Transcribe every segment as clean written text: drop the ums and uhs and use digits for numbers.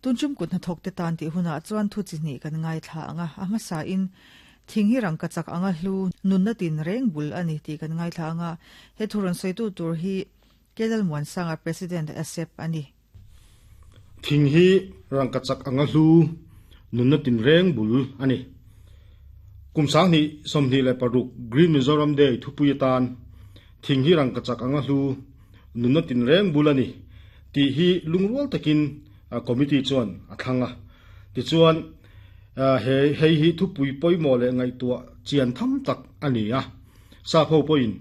Tunchum kut hnathawk te tan tih hunah chuan thu chi hnih kan ngaithla ang a, a hmasain thing hi rangkachak anga hlu nunna tin reng bul a ni tih kan ngaithla ang a, he thu rawn sawitu tur hi Kelal Muansanga President ASEP a ni. Thing hi rangkachak anga hlu nunna tin reng bul a ni. Kum sanghnih 26 Green Mizoram Day thupui atan thing hi rangkachak anga hlu nunna tin reng bul a ni tih hi lungrual takin committee chuan a thlang a. Tichuan, he hei hi thupui pawimawh leh ngaihtuah chian tham tak a ni a. Sap ho pawhin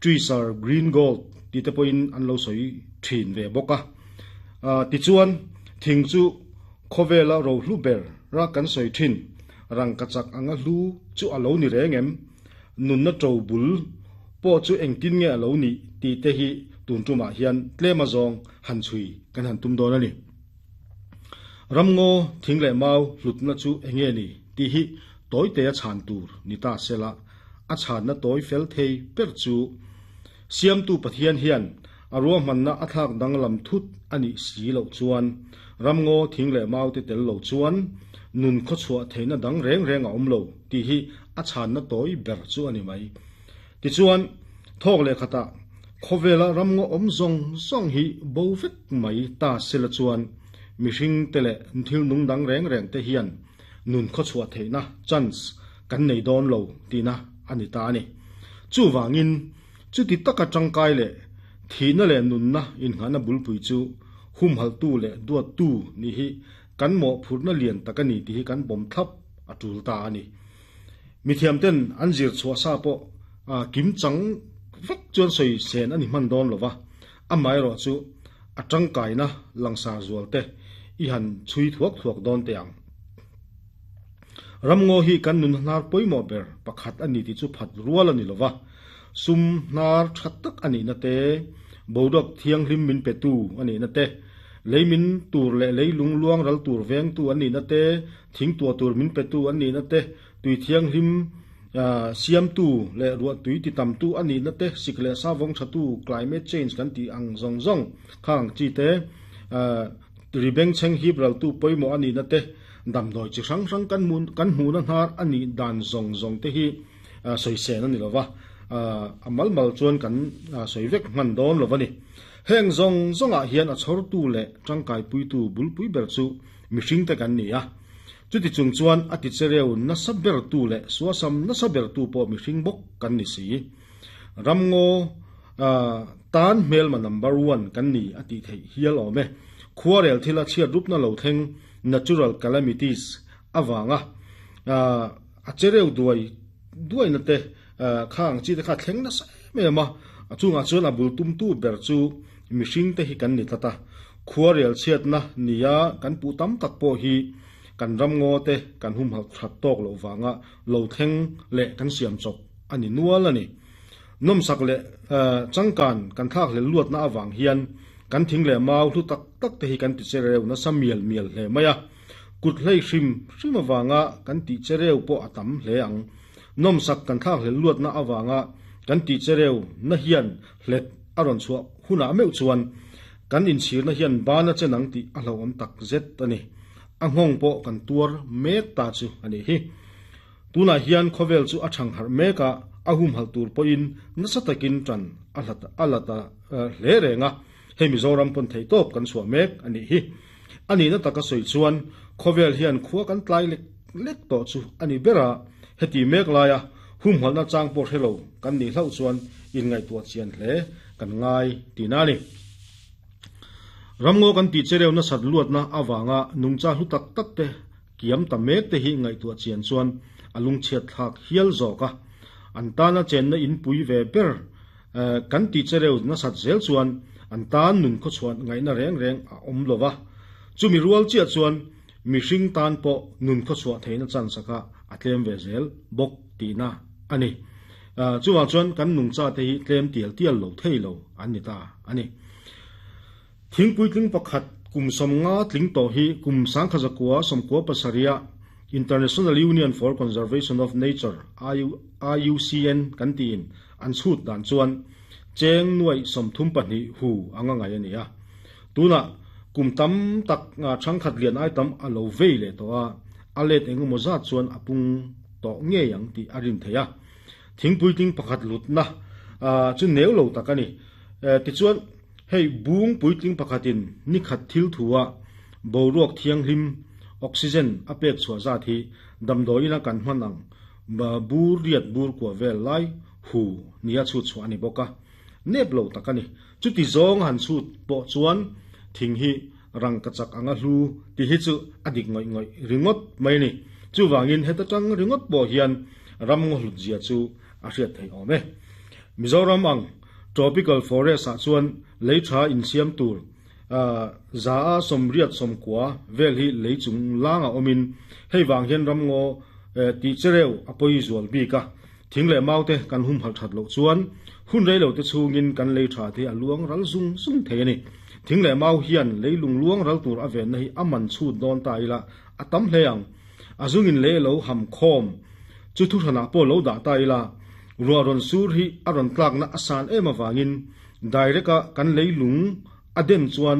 Trees are green gold tih te pawhin an lo sawi thin ve bawk a. Tichuan, thing chu khawvela rohlu ber ra kan sawi thin, rangkachak anga hlu chu a lo ni reng em? Nunna to bul pawh chu engtin nge a lo nih tih te hi tun tumah hian tlem azawng han chhui kan han tum dawn a ni. Ramngaw thing leh mau hlutna chu enge ni tih hi tawitea chhan tur ni ta sela, a chhanna tawi fel thei ber chu Siamtu Pathian hian a ruahmanna a thlak danglam thut a nih si loh chuan ramngaw thing leh mau te tel lo chuan nun khawchhuah theihna dang reng reng a awm lo tih hi a chhanna tawi ber chu a ni mai. Tichuan, thawk leh khatah khawvela ramngaw awm zawng zawng hi bo vek mai ta sela chuan mihring te leh thil nung dang reng reng te hian nun khawchhuah theihna chance kan nei dawn lo tihna a ni ta a ni. Chuvangin, chuti taka tangkai leh thihna leh nunna inngahna bulpui chu humhalhtu leh duattu nih hi kan mawhphurhna lian tak a ni tih hi kan bawm thlap a tul ta a ni. Mithiamten an zir chhuah sa pawh kim chang vek chuan sawi sen a ni hman dawn lo va, amaherawh chu a tangkaina langsar zual te i han chhui thuak thuak dawn teh ang. Ramngaw hi kan nun hnar pawimawh ber pakhat a ni tih chu phat rual a ni lo va, sum hnar tha tak a nihna te, boruak thianghlim min petu a nihna te, lei min tur leh lei lung luang ral tur vengtu an nihna te, thing tuah tur min petu an nihna te, tui thianghlim siamtu leh ruah tui titamtu a nihna te, sik leh sa vawng thatu, climate change kan tih ang zawng zawng kha ang chi te, ri bengchheng hip raltu pawimawh a nihna te, damdawi chi hrang hrang kan hmuh kan hmuhna hnar a nih dan zawng zawng te hi sawi sen a ni lo va, a mal mal chuan kan sawi vek hman dawn lo a ni. Heng zawng zawngah hian a chhawrtu leh tangkaipuitu bulpui ber chu mihring te kan ni a. Chuti chung chuan a tichereu nasa bertu leh suasam nasa bertu pawh mihring bawk kan ni si. Ramngaw tan hmelma number one kan ni a tih theih hial awm e. Khuarel thila chhiat rupna lo thleng, natural calamities, avanga a chereu duai duaina te kha ang chi te kha a thleng nasa em em a. A chungah chuan a bul tumtu ber chu mihring te hi kan ni tlat a. Khuarel chhiatna nia kan puh tam tak pawh hi kan ramngaw te kan humhalh that tawk loh vanga lo thleng leh kan siam chawp a ni nual a ni. Nawmsak leh changkan kan thlak hlel luatna avang hian kan thing leh mau hlu tak tak te hi kan ti che reu nasa mial mial hle mai a. Kut hlei hrim hrim avanga kan tih che reu pawh a tam hle ang. Nawmsak kan thlak hlel luatna avanga kan tih che reu na hian hlet a rawn chhuah hunah meuh chuan kan inchhirna hian bana chen ang tih a hlauhawm tak zet a ni. A nghawng pawh kan tuar mek ta chu a nih hi. Tunah hian khawvel chu a thang harh mek a, a humhalh tur pawhin nasa takin tan a hlat a la ta hle reng a, hei Mizoram pawn theihtawp kan chhuah mek a nih hi. A nihna taka sawi chuan khawvel hian khua kan tlai lek lek tawh chu a ni ber a, heti mek laia humhalhna chang pawh hre lo kan nih hlauh chuan inngaihtuah chian hle kan ngai tihna a ni. Ramngaw kan tih chereu nasat luatna avanga nungcha hlu tak tak te Kiam ta mek te hi ngaihtuah chian chuan a lungchhiat thlak hial zawk a, an tana chenna in pui ve ber kan tih chereu nasat zel chuan an tan nun khawchhuah ngaihna reng reng a awm lo va, chumi rual chiah chuan mihring tan pawh nun khawchhuah theihna chance kha a tlem ve zel bawk tihna a ni. Chuvang chuan kan nungcha te hi tlem tial tial lo thei lo an ni ta a ni. Thingpui tling pakhat kum 50 tling tawh hi kum 1997 International Union for Conservation of Nature, IUCN, kan tiin an chhut dan chuan cheng nuaih 32 hu anga ngai a ni a. Tunah Kum tam tak thangkhat lian ai tam a lo vei leh tawh a, a let engemaw zat chuan a pung tawh ngei ang tih a rin theih a. Thing puitling pakhat lutna chu neu lo tak a ni. Tichuan, hei bung puitling pakhatin ni khat thil thua boruak thianghlim, oxygen, a pek chhuah zat hi damdawiina kan hman ang bur riat bur kua vel lai hu nia chhut chhuah a ni bawk a. Nep lo tak a ni. Chuti zawng han chhut pawh chuan thing hi rangkachak anga hlu tih hi chu a dik ngawih ngawih ringawt mai a ni. Chuvangin heta tang ringawt pawh hian ram ngaw hlut zia chu a hriat theih awm e. Mizoram ang tropical forest ah chuan lei tha insiam tur za a sawmriat sawmkua vel hi lei chung langa awmin hei vang hian ram ngaw tih chereu a pawi zual bik a. Thing leh mau te kan humhalh that loh chuan hun rei lo te chhungin kan lei tha te hi a luang ral zung zung thei a ni. Thing leh mau hian leilung luang ral tur a venna hi a man chhut dawn ta ila a tam hle ang. A zungin lei lo ham khawm chu thuhranah pawh lo dah ta ila ruah rawn sur hi a rawn tlakna a san em avangin direct a kan leilung a den chuan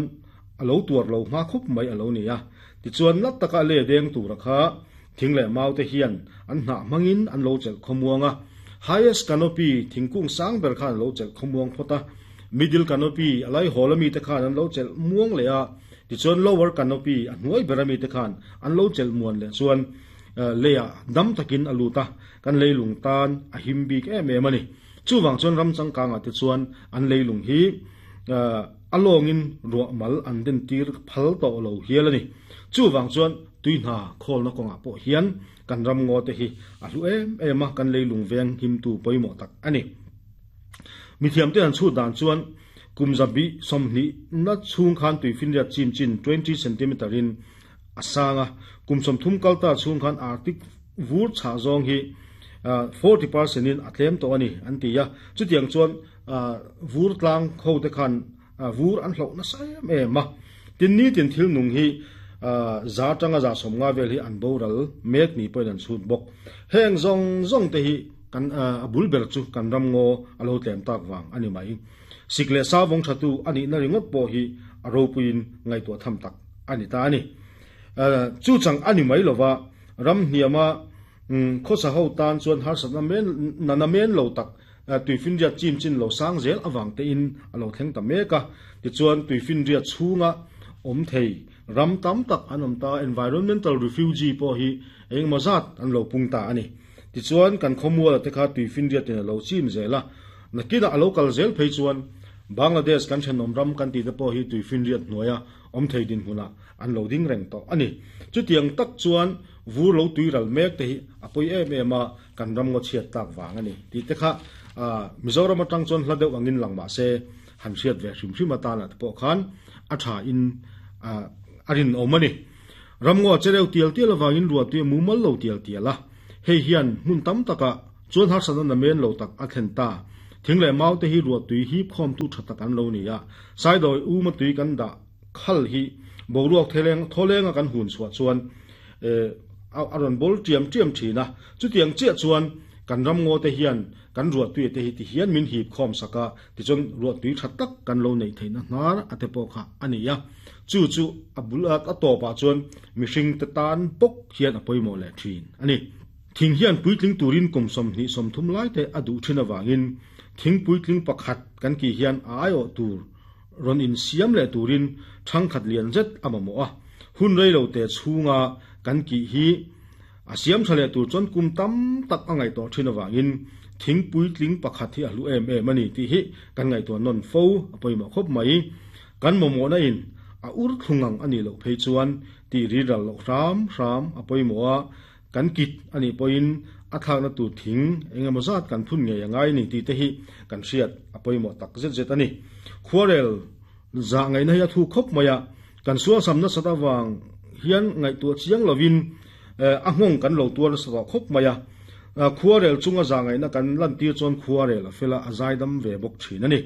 a lo tuar lo hma khawp mai a lo ni a. Tichuan nat taka lei deng tura kha Thing leh mau te hian an hnah hmangin an lo chelh khawmuang a, highest canopy thingkung sang ber khan an lo chelh khawmuang phawt a, middle canopy a laihawl ami te khan an lo chelh muang leh a, tichuan lower canopy a hnuai ber ami te khan an lo chelh muan leh chuan leiah dam takin a lut a, kan leilung tan a him bik em em a ni. Chuvang chuan ram changkangah te chuan an leilung hi a lawngin ruah mal an den tir phal tawh lo hial a ni. Chuvang chuan tui hna khawlna kawngah pawh hian kan ram ngaw te hi a hlu em em a, kan leilung veng himtu pawimawh tak a ni. Mithiamte han chhut dan chuan kum zabih 20 na chhung khan tuifinriat chim chin 20 centimeter in a sang a, kum 30 kalta chhung khan Arctic vur chhah zawng hi 40 percent in a tlem tawh a ni an ti a. Chutiang chuan vur tlang ho te khan vur an hloh nasa em em a. Tin nitin thil nung hi za atanga za 50 vel hi an boral mek ni pawhin an chhut bawk. Heng zawng zawng te hi kan a bul ber chu kan ram ngaw a lo tlem tak vang a ni mai. Sik leh sa vawng thatu a nihna ringawt pawh hi a ropuiin ngaihtuah tham tak a ni ta a ni. Chu chang a ni mai lova ram hniama khawsa ho tan chuan harsatna men nana men lo tak tuifinriat chim chin lo sang zel avang tein a lo thleng ta mek a. Tichuan tuifinriat chhunga awm thei ram tam tak an awm ta, environmental refugee pawh hi engemaw zat an lo pung ta a ni. Tichuan kan khawmuala te kha tuifinriatin a lo chim zel a, nakinah a lo kal zel phei chuan Bangladesh kan thenawm ram kan tih te pawh hi tuifinriat hnuaia awm thei dinhmunah an lo ding reng tawh a ni. Chutiang tak chuan vur lo tui ral mek te hi a pawi em em a, kan ram ngaw chhiat tak vang a ni tih te kha Mizoram atang chuan hla deuh angin lang mah se han hriat ve hrim hrim atana te pawh khan a tha in a rinawm a ni. Ram ngaw che reuh tial tial avangin ruahtui a mumal lo tial tial a, hei hian hmun tam takah chuan harsatna namen lo tak a thlen ta. Thing leh mau te hi ruahtui hip khawmtu tha tak an lo ni a, saidawi uma tui kan dah khal hi boruak theleng thawlenga kan hun chhuah chuan a rawn bawl tiam tiam thin a, chutiang chiah chuan kan ram ngaw te hian kan ruahtui te hi ti hian min hip khawm sak a, tichuan ruahtui tha tak kan lo neih theihna hnar a te pawh kha a ni a, chu chu a bul a tawpah chuan mihring te tan bawk hian a pawimawh leh thin a ni. Thing hian puitling turin kum 20 30 lai te a duh thin avangin thing puitling pakhat kan kih hian a aiawh tur rawn insiam leh turin thangkhat lian zet a mamawh a, hun rei lo te chhunga kan kih hi a siam tha leh tur chuan kum tam tak a ngaihtuah thin avangin thing puitling pakhat hi a hlu em em a ni tih hi kan ngaihtuah nawn fo a pawimawh khawp mai. Kan mamawhna in a ur thlung ang a nih loh phei chuan tih ri ral loh hram hram a pawimawh a, Kan kit a nih pawhin a thlakna tur thing eng emaw zat kan phun ngei a ngai ni tih te hi kan hriat a pawimawh tak zet zet a ni. Khuarel zah ngaihna hi a thu khawp mai a, kan sualsam nasat avang hian ngaihtuah chiang lovin a nghawng kan lo tuar nasa tawh khawp mai a. Khuarel chunga zah ngaihna kan lantir chuan khuarel a fel a, a zaidam ve bawk thin a ni.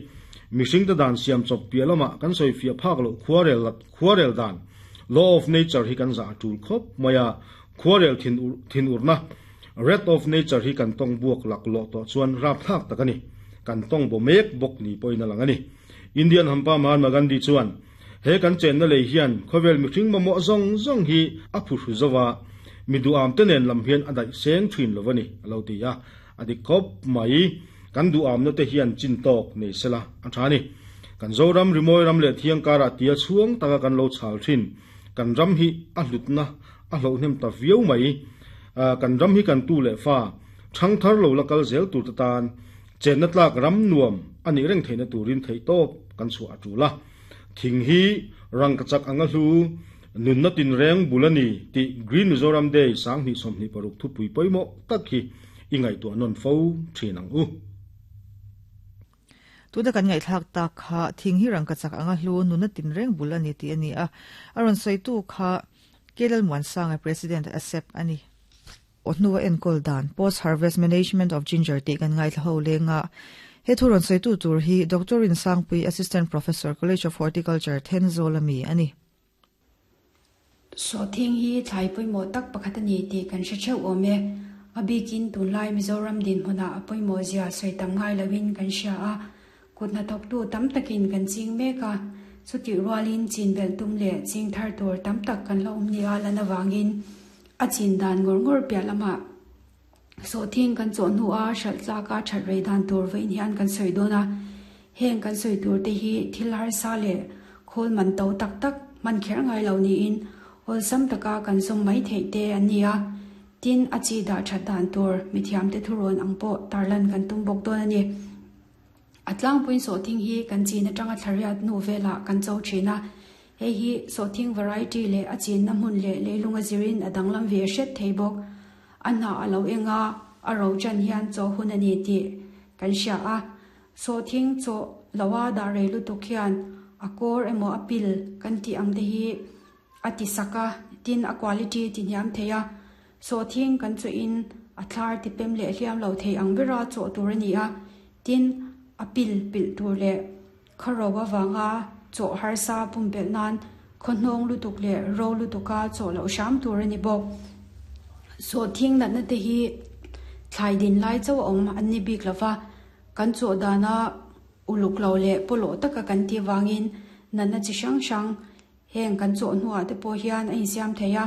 Mihringte dan siam chawp piah lamah kan sawifiah phak loh khuarel dan, law of nature, hi kan zah a tul khawp mai a. Khuarel thin urna, Wrath of Nature, hi kan tawng buak lak lawh tawh chuan rapthlak tak a ni. Kan tawng baw mek bawk ni pawhin a lang a ni. Indian hampa Mahatma Gandhi chuan, He kan chenna lei hian khawvel mihring mamawh zawng zawng hi a phuhru zo va, mi duham te nen lam hian a daih seng thin lo a ni, a lo ti a. A dik khawp mai. Kan duhamna te hian chin tawk nei sela a tha a ni. Kan Zoram rimawi ram leh thiang karah tia chhuang taka kan lo chhal thin. Kan ram hi a hlutna a hlauhnem ta viau mai. Kan ram hi kan tu leh fa thangthar lo la kal zel tur te tan chenna tlak ram nuam a nih reng theihna turin theihtawp kan chhuah a tul a. Thing hi rangkachak anga hlu, nunna tinreng bul a ni tih Green Mizoram Day 2026 thupui pawimawh tak hi i ngaihtuah nawn fo thin ang u. Tuna kan ngaihthlak tak kha thing hi rangkachak anga hlu, nunna tinreng bul a ni tih a ni a. A rawn sawitu kha K Lalmuansanga President ASEP a ni. Aw hnua enkawl dan, Post Harvest Management of Ginger tih kan ngaithla ho leng a. He thu rawn sawitu tur hi Doctor Rinsangpui, Assistant Professor, College of Horticulture, Thenzawl a mi a ni. Sawhthing hi thlai pawimawh tak pakhat a ni tih kan hre theuh awm e. A bikin tunlai Mizoram dinhmunah a pawimawh zia sawi tam ngai loin kan hria a, kut hnathawktu tam takin kan ching mek a, chutih rualin chin belh tum leh ching thar tur tam tak kan la awm nia lan avangin a chin dan ngawr ngawr piah lamah sawhthing kan chawh hnua hralh tlaka that rei dan tur vawiin hian kan sawi dawn a. Heng kan sawi tur te hi thil harsa leh khawl man to tak tak hman kher ngai lo niin awlsam taka kan zawm mai theih te an ni a. Tin, a chi dah that dan tur mithiamte thurawn ang pawh tarlan kan tum bawk dawn a ni. A tlangpuiin sawhthing hi kan chin atanga thlariat hnu velah kan cho thin a, hei hi sawhthing variety leh a chinna hmun leh leilung a zirin a danglam ve hret thei bawk. A hnah a lo eng a, a ro chan hian chaw hun a ni tih kan hria a. Sawhthing chaw loa dah rei lutuk hian a kawr emaw a pil kan tih ang te hi a ti sak a, tin a quality ti hniam thei a. Sawhthing kan chawhin a thlar ti pem leh hliam lo thei ang bera chawh tur a ni a, tin a pil pilh tur leh khawro avanga chawh harsa pumpelh nan khaw hnawng lutuk leh ro lutuka chawh loh hram tur a ni bawk. Sawhthing natna te hi thlai din lai chauh a awm an ni bik lova, kan chawh dana uluk lo leh pawlawh taka kan tih vangin natna chi hrang hrang Heng kan chawh hnuah te pawh hian a insiam thei a,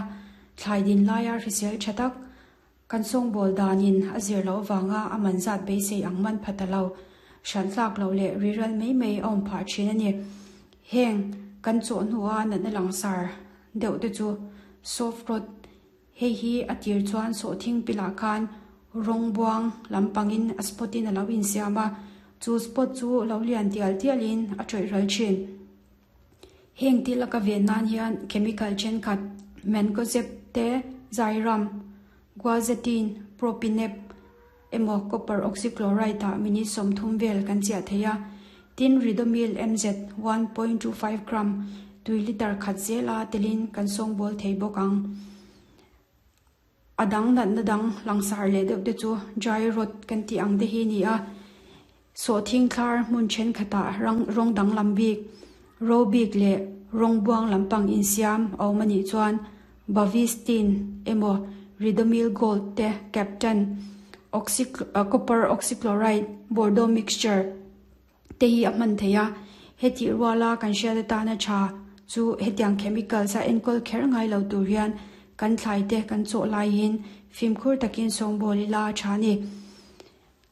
thlai din laia hrisel tha tak kan sawngbawl danin a zir loh avanga a man zat beisei ang man pha ta lo, hralh tlak loh leh riral mai mai a awm phah thin a ni. Heng kan chawh hnua natna langsar deuh te chu soft rot, hei hi a tir chuan sawhthing pilah khan rawng buang lampangin a spot in a lo insiam a, chu spot chu lo lian tial tialin a tawih ral thin. Heng thil a ka ven nan hian chemical thenkhat mancozeb te, ziram, guazetine, propineb emaw copper oxychloride ah minute 30 vel kan chiah thei a. Tin, Ridomil MZ 1.25 gram tui liter khat zela telin kan sawngbawl thei bawk ang. A dang natna dang langsar leh deuh te chu dry rot kan tih ang te hi a ni a, sawhthing thlar hmun thenkhatah rawng danglam bik, ro bik leh rawng buang lampang insiam a awm a nih chuan Bavistin emaw Ridomil Gold te Captan, oxy copper oxychloride, Bordeaux mixture te hi a hman thei a, hetih ruala kan hriat atana tha chu hetiang chemicals a enkawl kher ngai lo tur hian kan thlai te kan chawh laiin fimkhur takin sawngbawl ila a tha a ni.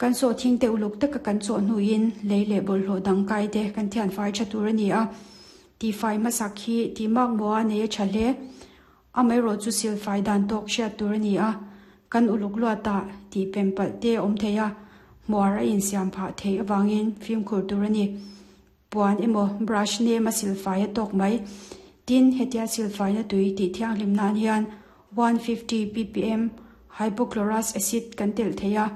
Kan sawhthing te uluk taka kan chawh hnuin lei leh bawlhhlawh dang kai te kan thian fai tha tur a ni a, tihfai hmasak hi tih mak maw a nei a tha hle. Amaherawh chu silfai dan tawk hriat tur a ni a, kan uluk luatah tih pem palh te a awm thei a, hmuar a insiam phah theih avangin fimkhur tur a ni. Puan emaw brush nem a silfai a tawk mai. Tin, hetia silfaina tui tih thianghlim nan hian 150 ppm hypochlorous acid kan telh thei a,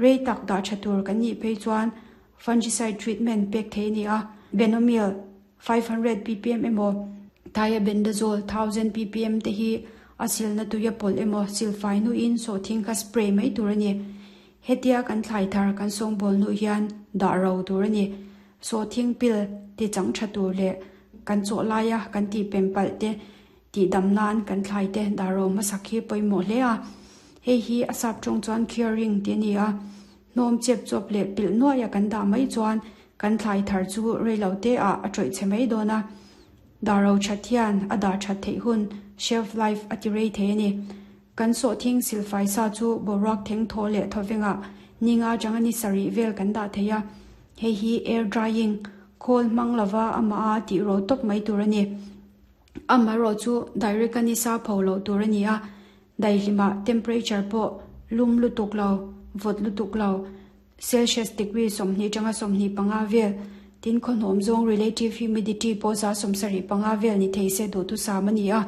rei tak dah tha tur kan nih phei chuan fungicide treatment pek thei a ni a, benomyl 500 ppm emaw thiabendazole 1000 ppm te hi a silna tuia pawlh emaw silfai hnuin sawhthing kha spray mai tur a ni. Hetia kan thlai thar kan sawngbawl hnuh hian dah ro tur a ni. Sawhthing pil ti chang tha tur leh kan chawh laia kan tih pem palh te tih dam nan kan thlai te dah ro hmasak hi pawimawh hle a. Hei hi a sap tawng chuan curing tih a ni a. Hnawm chep chawp leh pilh nuaia kan dah mai chuan kan thlai thar chu reilo te ah a tawih chhe mai dawn a. Dah ro that hian a dah that theih hun, shelf life, a ti rei thei a ni. Kan sawhthing silfai sa chu boruak theng thaw leh thawvengah ni nga atanga ni sarih vel kan dah thei a. Hei hi air drying, khawl hmang lova amah a tih ro tawp mai tur a ni. Amaherawhchu direct a nisa pho loh tur a ni a, daihlimah temperature pawh lum lutuk lo, vawt lutuk lo, Celsius degree 20 atanga 25 vel, tin khawhnawm zawng relative humidity pawh 75% vel ni thei se duhthusam a ni a.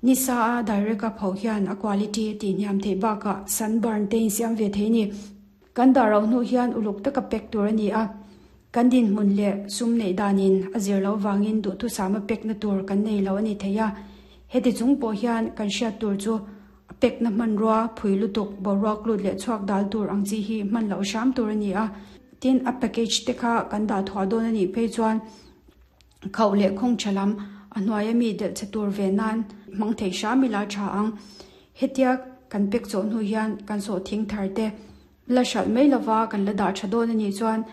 Nisa a direct a pho hian a quality a tihhniam theih bakah sunburn te insiam ve thei a ni. Kan dah rauh hnu hian uluk taka pack tur a ni a, kan dinhmun leh sum neih danin a zir loh vangin duhthusama pack na tur kan nei lo a ni thei a. Heti chung pawh hian kan hriat tur chu a pack na hmanrua phui lutuk boruak lut leh chhuak dal tur ang chi hi hman loh hram tur a ni a. Tin, a package te kha kan dah thuah dawn a nih phei chuan Khauh leh khawng tha lam a hnuaia mi delh che tur ve nan hmang thei hram ila tha ang. Hetia kan pek chawh hnu hian kan sawh thing thar te la hralh mai lova kan la dah tha dawn a nih chuan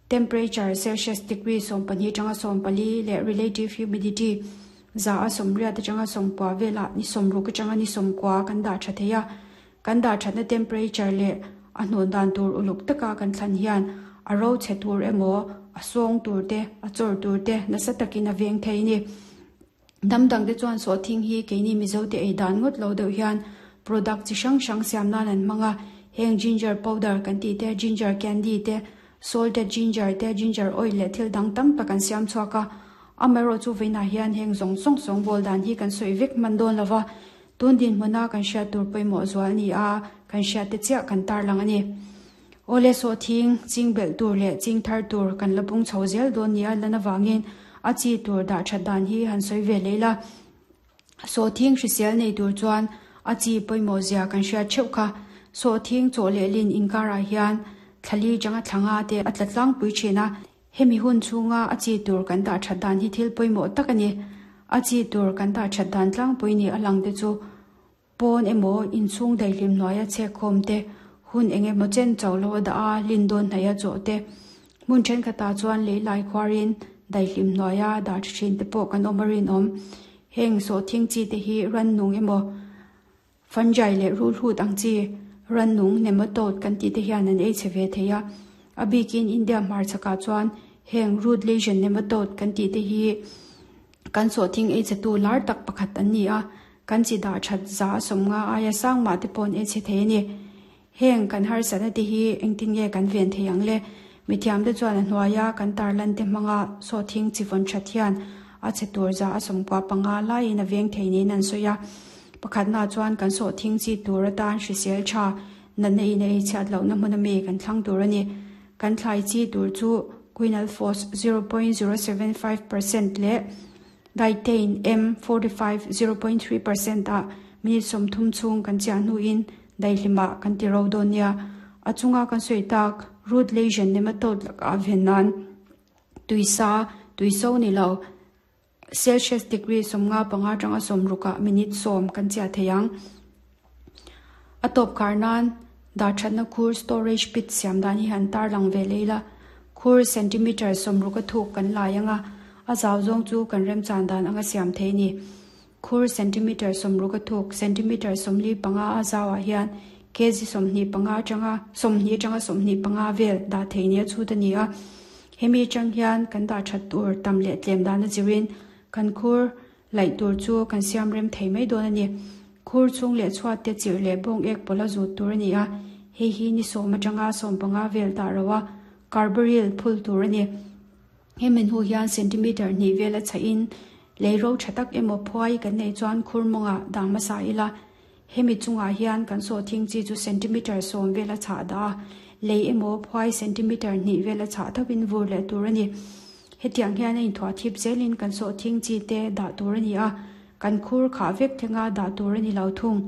temperature Celsius degree 12 tanga 14 leh relative humidity 180 atanga 90 velah ni 60 atanga ni 90 kan dah tha thei a. Kan dah thatna temperature leh a hnawn dan tur uluk taka kan thlan hian a ro chhe tur emaw, a sawng tur te, a chawr tur te nasa takin a veng thei a ni. Hnam dangte chuan sawhthing hi keini Mizote ei dan ngawt lo deuh hian product chi hrang hrang siam nan an hmang a, heng ginger powder kan tih te, ginger candy te, salted ginger te, ginger oil leh thil dang tam tak an siam chhuak a. Amaherawhchu vawiinah hian heng zawng zawng sawngbawl dan hi kan sawi vek hman dawn lo va, Tun dinhmuna kan hriat tur pawimawh zual ni a, kan hriat te chiah kan tarlang a ni. Awle sawhthing, ching belh tur leh ching thar tur kan la bung chho zel dawn ni a lan avangin a chi tur dah that dan hi han sawi ve leh ila. Sawhthing hrisel nei tur chuan a chi pawimawh zia kan hriat theuh kha. Sawhthing chaw leh lin inkarah hian thlali changa thlanga te a tla tlangpui thin a. Hemi hun chhunga a chi tur kan dah that dan hi thil pawimawh tak a ni. A chi tur kan dah that dan tlangpui ni a lang te chu pawn emaw inchhung daihlim hnuaia chhek khawm te, hun eng emaw chen chauh lo a dah a, lin dawn hnaih a chawh te, hmun thenkhatah chuan lei lai khuarin daihlim hnuaia dah tha thin te pawh kan awm a rinawm. Heng sawhthing chi te hi rannung emaw Fungi leh rulhut ang chi rannung nematode kan tih te hian an ei chhe ve thei a. A bikin India hmarchhakah chuan heng root lesion nematode kan tih te hi kan sawhthing ei chhetu lar tak pakhat an ni a, kan chi dah that 150 aia sang mah te pawh an ei chhe thei a ni. Heng kan harsatna te hi engtin nge kan ven thei ang le? Mithiamte chuan a hnuaia kan tarlan te hmanga sawhthing chi vawn that hian a chhe tur 95% laiin a veng thei niin an sawi a. Pakhatna chuan kan sawhthing chi tur atan hrisel tha natna in a ei chhiat lohna hmun ami kan thlang tur a ni. Kan thlai chi tur chu Quinalphos 0.075% leh Dithane M 45 0.3% ah minute 30 chhung kan chiah hnuin daihlimah kan ti ro dawn nia. A chunga kan sawi tak root lesion nematode lakah ven nan tuisa, tuiso ni lo, Celsius degree 55 atanga 60 ah minute 10 kan chiah thei ang. A tawp khar nan dah thatna khur storage pit siam dan hi han tarlang ve leh ila. Khur centimeter 60 a thuk kan lai anga a zau zawng chu kan remchan dan anga siam thei a ni. Khur centimeter 60 a thuk centimeter 45 a zauah hian kg 25 atanga 20 atanga 25 vel dah thei nia chhut a ni a. Hemi atang hian kan dah that tur tam leh tlem dan a zirin kan khur laih tur chu kan siam rem thei mai dawn a ni. Khur chhung leh chhuat te chirh leh bawng ek pawlh a zut tur a ni a, hei hi ni 10 atanga 15 vel dah ro a, carbaryl phul tur a ni. Hemi hnu hian centimeter hnih vel a chhah in lei ro tha tak emaw phuai kan neih chuan khur mawngah dah hmasa ila, hemi chungah hian kan sawhthing chi chu centimeter 10 vel a chhah dah a, lei emaw phuai centimeter hnih vel a chhah thovin vur leh tur a ni. Hetiang hian a inthuah thip zelin kan sawhthing chi te dah tur a ni a, kan khur khah vek thlenga dah tur a ni lo thung.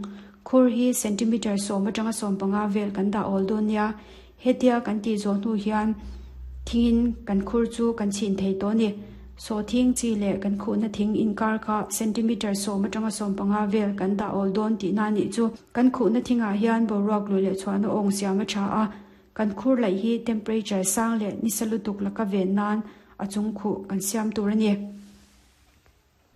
Khur hi centimeter 10 atanga 15 vel kan dah awl dawn nia. Hetia kan tih zawh hnu hian thingin kan khur chu kan chhin thei tawh a ni. Sawhthing chi leh kan khuhna thing inkar kha centimeter 10 atanga 15 vel kan dah awl dawn tihna a nih chu. Kan khuhna thingah hian boruak lui leh chhuahna awng siam a tha a, kan khur laih hi temperature sang leh nisa lutuk laka ven nan a chung khuh kan siam tur a ni.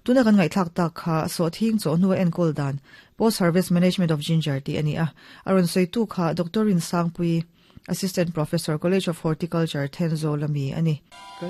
Tuna kan ngaihthlak tak kha sawhthing chawhnu a enkawl dan, Post Harvest Management of Ginger tih a ni a. A rawn sawitu kha Doctor Rinsangpuii, Assistant Professor, College of Horticulture, Thenzawl ami a ni.